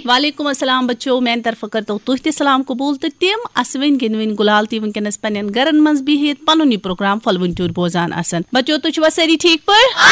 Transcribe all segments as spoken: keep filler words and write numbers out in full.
وعلیکم السلام بچو، میانہِ طرفہٕ کٔرتو تُہۍ تہِ سلام قبول تہٕ تِم اسوٕنۍ گِنٛدوٕنۍ گُلال تہِ وٕنکیٚنس پننٮ۪ن گرن منٛز بِہِتھ پنُن یہِ پروگرام پھۄلوٕنۍ ٹیوٗرۍ بوزان آسن۔ بچو، تُہۍ چھِوا سٲری ٹھیٖک پٲٹھۍ؟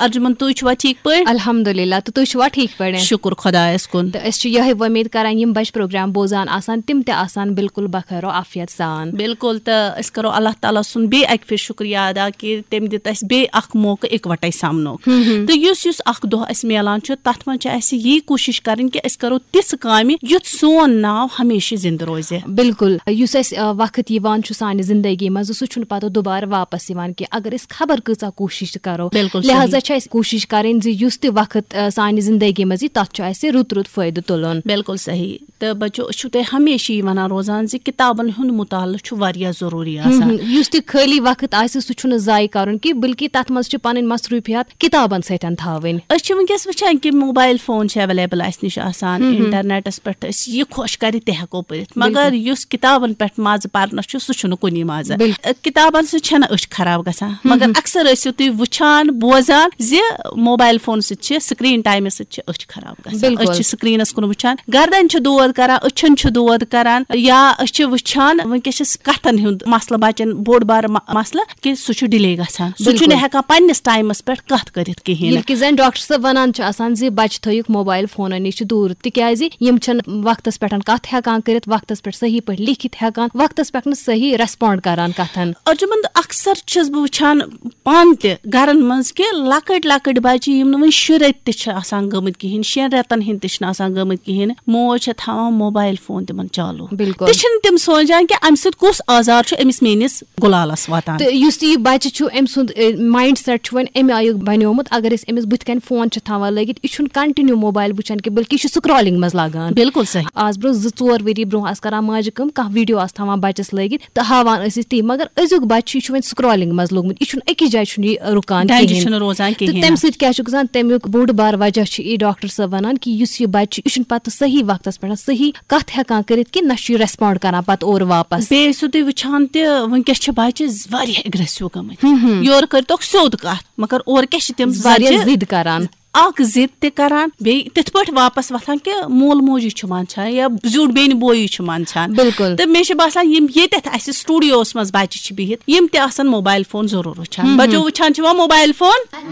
ارجُمن، تُہۍ چھِوا ٹھیٖک پٲٹھۍ؟ الحمدللہ، تہٕ تُہۍ چھِوا ٹھیٖک پٲٹھۍ؟ شُکُر خۄدایس کُن۔ تہٕ أسۍ چھِ یِہے وۄمید کران، یِم بچہِ پروگرام بوزان آسن، تِم تہِ آسن بالکل بخیر و عافیت سان۔ بالکل، تہٕ أسۍ کرو اللہ تعالیٰ سُنٛد بیٚیہِ اکہِ پھِرِ شُکریہ ادا کہِ تٔمۍ دیُت اَسہِ بیٚیہِ اکھ موقعہٕ اِکوٹے سمنُک۔ تہٕ یُس یُس اکھ دۄہ اَسہِ میلان چھُ، تتھ منٛز چھِ اَسہِ یی کوٗشِش کرٕنۍ کہِ أسۍ کرو تِژھ کامہِ یُتھ سون ناو ہمیشہِ زِندٕ روزِ۔ بالکل، یُس اَسہِ، آ، وقت یِوان چھُ سانہِ زندگی منٛز، سُہ چھُنہٕ پتہٕ دُبارٕ واپس یِوان کینٛہہ۔ اگر أسۍ خبر کۭژاہ کوٗشِش تہِ کرو، بالکل صحیح۔ لہذا چھِ اَسہِ کوٗشِش کرٕنۍ زِ یُس تہِ وقت، آ، سانہِ زندگی منٛز یی، تتھ چھُ اَسہِ رُت رُت فٲیدٕ تُلُن۔ بالکل صحیح۔ تہٕ بچو، أسۍ چھِو تۄہہِ ہمیشہِ یی ونان روزان زِ کتابن ہُنٛد مطالعہٕ چھُ واریاہ ضروٗری آسان۔ یُس تہِ خٲلی وقت آسہِ، سُہ چھُنہٕ ضایع کرُن کینٛہہ، بلکہِ تتھ منٛز چھِ پنٕنۍ مصروٗفیات کتابن سۭتۍ تھاوٕنۍ۔ أسۍ چھِ وٕنکیٚس وٕچھان کہِ موبایل فون چھِ ایویلیبل اسہِ نِش آسان، انٹرنیٹس پٮ۪ٹھ أسۍ یہِ خۄش کرِ تہِ ہٮ۪کو پٔرِتھ، مگر یُس کتابن پٮ۪ٹھ مزٕ پرنس چھُ، سُہ چھُنہٕ کُنی مزٕ۔ کتابن سۭتۍ چھنہٕ أچھ خراب گژھان، مگر اکثر ٲسِو تُہۍ وٕچھان، بوزان زِ موبایل فون سۭتۍ چھِ، سکرین ٹایمہٕ سۭتۍ چھِ أچھ خراب گژھان۔ أسۍ چھِ سکرینس کُن وٕچھان، گردن چھِ دود کران، أچھن چھِ دود کران، یا أسۍ چھِ وٕچھان وٕنکیٚس چھِ کتھن ہُنٛد مسلہٕ، بچن بوٚڑ بارٕ م-، مسلہٕ کہِ سُہ چھُ ڈِلے گژھان، سُہ چھُنہٕ ہٮ۪کان پننِس ٹایمس پٮ۪ٹھ کتھ کٔرِتھ کِہیٖنۍ۔ ییٚلہِ کہِ زن ڈاکٹر صٲب ونان چھِ آسان زِ بچہِ تھٲیِکھ موبایل فونن نِش دوٗر، تِکیازِ یِم چھِنہٕ وقتس پٮ۪ٹھ کتھ ہٮ۪کان کٔرِتھ، وقتس پٮ۪ٹھ صحیح پٲٹھۍ لیکھِتھ ہٮ۪کان، وقتس پٮ۪ٹھ نہٕ صحیح ریسپونڈ کران کتھن۔ ارجُمند، اکثر چھَس بہٕ وٕچھان پانہٕ تہِ گرن منٛز کہِ لۄکٕٹۍ لۄکٕٹۍ بچہِ، یِم نہٕ وُنہِ شُرۍ رٮ۪تۍ تہِ چھِ آسان گٔمٕتۍ کِہیٖنۍ، شٮ۪ن رٮ۪تن ہٕنٛدۍ تہِ چھِنہٕ آسان گٔمٕتۍ کِہیٖنۍ، موج چھےٚ تھاوان موبایل فون تِمن چالوٗ۔ بالکل۔ تہِ چھِنہٕ تِم سونچان کہِ اَمہِ سۭتۍ کُس آزار چھُ أمِس میٲنِس گُلالس واتان۔ تہٕ یُس تہِ یہِ بچہِ چھُ، أمۍ سُنٛد، اے، مایِنڈ سیٹ چھُ وۄنۍ اَمہِ آیُک بنیومُت، اگر أسۍ أمِس بٕتھِ کَنۍ فون چھِ تھاوان لٲگِتھ، یہِ چھُنہٕ کنٹِنیو موبایل وٕچھان کینٛہہ، بلکہِ یہِ چھُ سکرولنگ منٛز لاگان۔ بالکل صحیح۔ آز برونٛہہ زٕ ژور ؤری برونٛہہ آسہٕ کران ماجہِ کٲم، کانٛہہ ویڈیو آسہٕ تھاوان بچس لٲگِتھ تہٕ ہاوان ٲسۍ أسۍ تی، مگر أزیُک بچہِ چھُ، یہِ چھُ وۄنۍ سکرولنگ منٛز لوٚگمُت، یہِ چھُنہٕ أکِس جایہِ چھُنہٕ یہِ رُکان ڈنجہِ کِہیٖنۍ۔ چھُنہٕ روزان تہٕ کِہیٖنۍ۔ تَمہِ سۭتۍ کیٛاہ چھُ گژھان؟ تَمیُک بوٚڑ بار وجہ چھُ یی ڈاکٹر صٲب وَنان کہِ یُس یہِ بَچہٕ چھُ، یہِ چھُنہٕ پَتہٕ صحیح وقتَس پٮ۪ٹھ صحیح کَتھ ہٮ۪کان کٔرِتھ کہِ نہ چھُ یہِ ریسپونڈ کران پَتہٕ اورٕ واپَس۔ بیٚیہِ ٲسِو تُہۍ وٕچھان تہِ، وٕنکیٚس چھِ بَچہٕ واریاہ اگریسو گٔمٕتۍ۔ یورٕ کٔرۍتوکھ سیوٚد کَتھ، مگر اورٕ کیٛاہ چھِ تِم واریاہ زَچہِ؟ ضد کران۔ اکھ ضد تہِ کران، بیٚیہِ تِتھ پٲٹھۍ واپس وۄتھان کہِ مول موجی چھُ منٛدچھان یا زیُٹھ بیٚنہِ بویی چھُ منٛدچھان۔ بالکل۔ تہٕ مےٚ چھُ باسان، یِم ییٚتٮ۪تھ اَسہِ سٹوڈیوس منٛز بچہِ چھِ بِہِتھ، یِم تہِ آسن موبایل فون ضروٗر وٕچھان۔ بچو وٕچھان چھِوا موبایل فون؟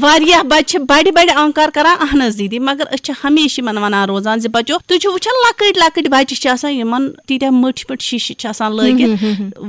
واریاہ بچہِ چھِ بڑِ بڑِ آنکار کران، "اہن حظ دیدی"، مگر أسۍ چھِ ہمیشہِ یِمن ونان روزان زِ بچو، تُہۍ چھِو وٕچھان، لۄکٕٹۍ لۄکٕٹۍ بچہِ چھِ آسان، یِمن تیٖتیٛاہ مٔٹھۍ مٔٹھۍ شیٖشہِ چھِ آسان لٲگِتھ۔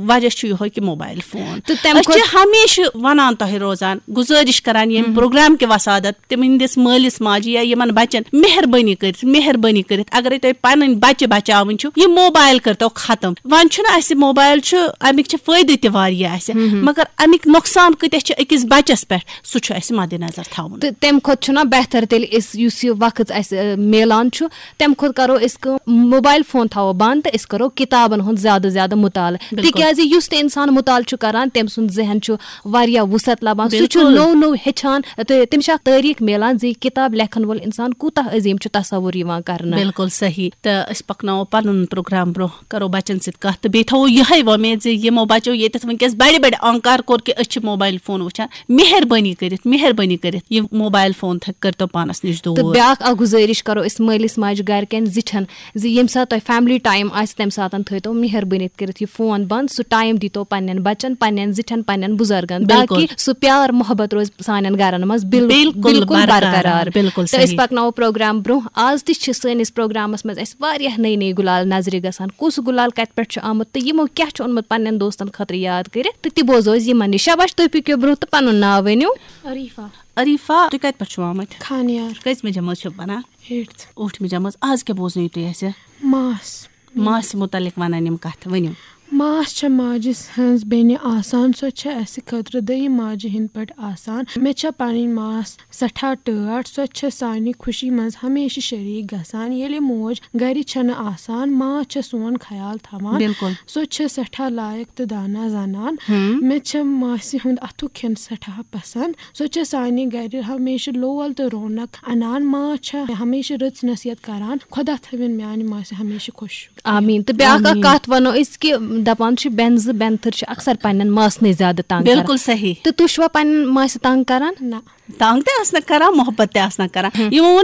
وجہ چھُ یِہوے کہِ موبایل فون۔ تہٕ تَمہِ أسۍ چھِ کھۄتہٕ ہمیشہِ ونان تۄہہِ روزان، گُزٲرِش کران ییٚمہِ پروگرام کہِ وسادت تِہنٛدِس مٲلِس ماجہِ یا یِمن بچن، مہربٲنی کٔرِتھ، مہربٲنی کٔرِتھ، اگرے تۄہہِ پنٕنۍ بچہِ بچاوٕنۍ چھِو، یہِ موبایل کٔرتو ختم۔ وۄنۍ چھُنہٕ اسہِ موبایل چھُ، امیِکۍ چھِ فٲیدٕ تہِ واریاہ اسہِ، مگر امیِکۍ نۄقصان کۭتیاہ چھِ أکِس بچس پٮ۪ٹھ، سُہ چھُ اسہِ مدِ نظر تھاوُن۔ تہٕ تَمہِ کھۄتہٕ چھُنہ بہتر تیٚلہِ أسۍ یُس یہِ وقت اسہِ، ٲ، میلان چھُ، تَمہِ کھۄتہٕ کرو أسۍ کٲم، موبایل فون تھاوو بند تہٕ أسۍ کرو کِتابن ہُنٛد زیادٕ زیادٕ مطالعہٕ۔ بالکل۔ تِکیازِ یُس تہِ انسان مطالعہٕ چھُ کران، تٔمۍ سُنٛد ذہن چھُ واریاہ وُسعت لبان۔ سُہ چھُ بالکل۔ نوٚو نوٚو ہیٚچھان تہٕ تٔمِس چھِ اکھ تٲریٖخ میلان زِ یہِ کِتاب لیکھن وول انسان کوٗتاہ عظیٖم چھُ تصور یِوان کرنہٕ۔ بالکل صحیح۔ تہٕ أسۍ پکناوو پنُن پروگرام برونٛہہ، کرو بچن سۭتۍ کتھ تہٕ بیٚیہِ تھاوو یِہے وۄمید زِ یِمو بچو ییٚتٮ۪تھ وٕنکیٚس بڑِ بڑِ آنکار کوٚر کہِ أسۍ چھِ موبایل فون وٕچھان، مہربٲنی کٔرِتھ، مہربٲنی کٔرِتھ یہِ موبایل فون تھٲ-، کٔرۍتو پانس نِش دوٗر۔ تہٕ بیٛاکھ اکھ گُزٲرِش کرو أسۍ مٲلِس ماجہِ گرِکٮ۪ن زِٹھٮ۪ن زِ ییٚمہِ ساتہٕ تۄہہِ فیملی ٹایم آسہِ، تَمہِ ساتہٕ تھٲیتو مہربٲنی کٔرِتھ یہِ فون بند، سُہ ٹایم دیٖتو پننٮ۪ن بچن، پننٮ۪ن زِٹھٮ۪ن، پننٮ۪ن بُزرگن، بالکل۔ تاکہِ سُہ پیار محبت روزِ سانٮ۪ن گرن منٛز بِل-، بالکل بِلکُل برقرار۔ برقرار۔ بالکل تہٕ أسۍ صحیح۔ پکناوو پروگرام برونٛہہ۔ آز تہِ چھِ سٲنِس پروگرامس منٛز اَسہِ واریاہ نٔے نٔے گُلال نظرِ گژھان، کُس گُلال کتہِ پٮ۪ٹھ چھُ آمُت تہٕ یِمو کیٛاہ چھُ اوٚنمُت پننٮ۪ن دوستن خٲطرٕ یاد کٔرِتھ، تہٕ تہِ بوزو أسۍ یِمن نِش۔ شاباش، تُہۍ پٔکِو برونٛہہ تہٕ پنُن ناو ؤنِو۔ عریٖفہ۔ عریٖفہ، تُہۍ کتہِ پٮ۪ٹھ چھِو آمٕتۍ؟ خانیار۔ کٔژمہِ جمٲژ چھِو پران؟ Eighth۔ ٲٹھمہِ جمٲژ۔ آز کیٛاہ بوزنٲیِو تُہۍ اَسہِ؟ ماس۔ ماسہِ مُتعلق وَنان یِم کَتھٕ، ؤنِو۔ ماس چھےٚ ماجہِ ہٕنٛز بیٚنہِ آسان، سۄ چھےٚ اَسہِ خٲطرٕ دوٚیِم ماجہِ ہِنٛدۍ پٲٹھۍ آسان۔ مےٚ چھےٚ پنٕنۍ ماس سٮ۪ٹھاہ ٹٲٹھ، سۄ چھےٚ سانہِ خوشی منٛز ہمیشہِ شریٖک گژھان۔ ییٚلہِ موج گرِ چھنہٕ آسان، ماس چھےٚ سون خیال تھاوان۔ بِلکُل۔ سۄ چھےٚ سٮ۪ٹھاہ لایق تہٕ دانا زنان۔ ہم۔ مےٚ چھےٚ ماسہِ ہُنٛد اَتھُک کھٮ۪ن سٮ۪ٹھاہ پسنٛد۔ سۄ چھےٚ سانہِ گرِ ہمیشہِ لول تہٕ رونق انان۔ ماس چھےٚ ہمیشہِ رٕژ نصیحت کران۔ خۄدا تھٲوِن میانہِ ماسہِ ہمیشہِ خۄش۔ آمیٖن۔ تہٕ بیٛاکھ اکھ آمیٖن۔ کتھ ونو أسۍ کہِ دپان چھِ، بٮ۪نزٕ بٮ۪نتھٕر چھِ اکثر پننٮ۪ن ماسنٕے زیادٕ تنگ کران۔ بِلکُل صحیح۔ تہٕ تُہۍ چھِوا پننٮ۪ن ماسہِ تنگ کران؟ نہ۔ تنگ تہِ آسنہٕ کران، محبت تہِ آسنہٕ کران۔ ہم۔ یِمو ووٚن